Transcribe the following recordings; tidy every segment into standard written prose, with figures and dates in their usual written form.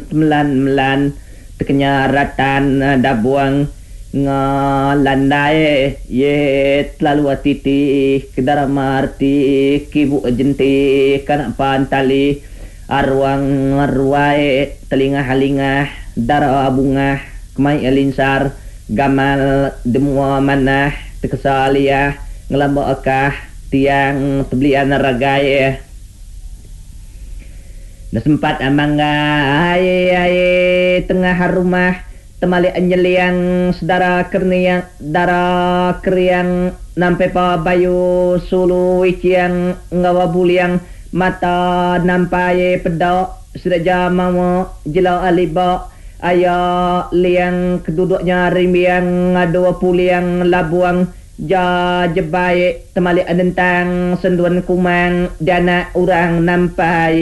Temelan-melan tekenya ratan dabuang ngalandai ye telalu titi kedara marti kibu jenti kana pantali aruang ruai telingah-lingah dara bungah kemai linsar gamal demua manah tekesa liah ngelamba kah tiang tebelian ragai. Enda sempat manggai tengah rumah temalik nyeliang sedara kerniang dara keriang nampai pa bayu sulu iching enggau buling mata nampai peda sida ja mawa jela liba aya liang keduduk nya rimbiang ngadu puling labuang Ja jebai temalik nentang sendun kumang dianak orang nampai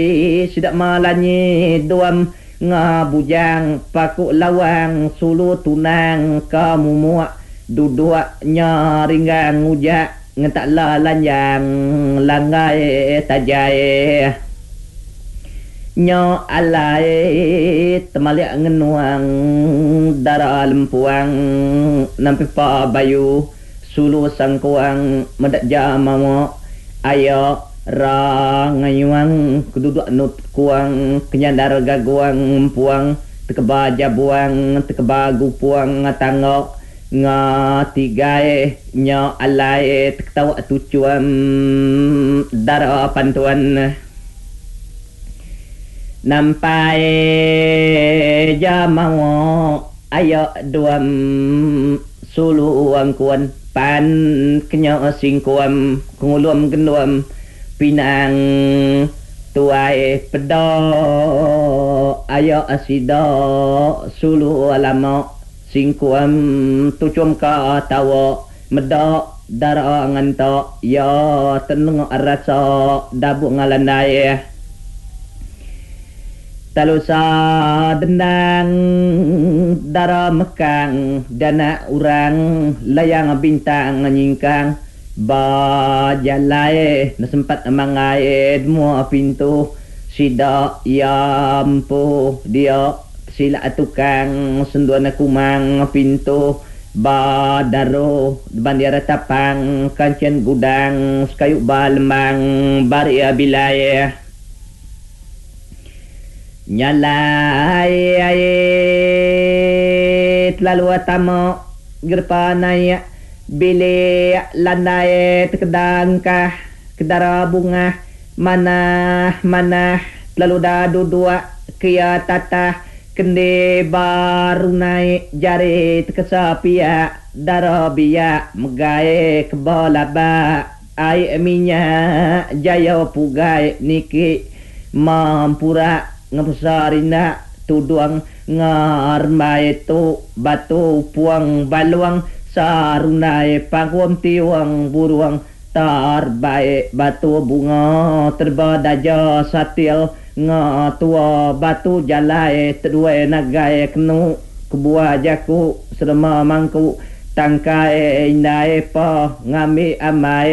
sida melanyi duam ngabujang paku lawang sulu tunang ke mumuk duduk nya ringgang ngujak ngentak la lanjang langgai tajai. Nya alai temalik ngenuang dara lempuang nampi pa bayu sulu sangkuang meda ja mawa aya ra ngayuang keduduk nut kuang kenyandar gaguang empuang tekeba jabuang tekeba gupuang tangga nga tigai nya alai teketawa tuchum dara pantuan. Nampai ja mawa aya duam sulu angkun pan kenya singkum kengulum gendum pinang tuai peda aya sida sulu lama singkum tuchum ka tawa meda dara ngenta iya tenengok rasa dabung ngalandai. Talusa dendang dara mekang danak orang layang bintang nyingkang ba jalai ne sempat mangai mua pintu sida iya empu dia sila tukang senduan kumang pintu Ba daro bandir tapang kanchin gudang sekayu ba lembang bari bilai. Nyalai ai telalu tama gerepa naik bilik landai tekeda engkah kedara bungah manah manah telalu da duduk kia tatah Kendi baru naik jari tekesa piak dara biak megai keba labak ai minyak jaya pugai niki mampurak ngepesa rindak tudung ngerembai tu batu puang balung sarundai pangkum tiung burung Tarbaik batu bunga terba daja satil nga tua batu jalai teduai nagai kenu kebuah jaku serema mangku tangkai indai pa ngambi ambai.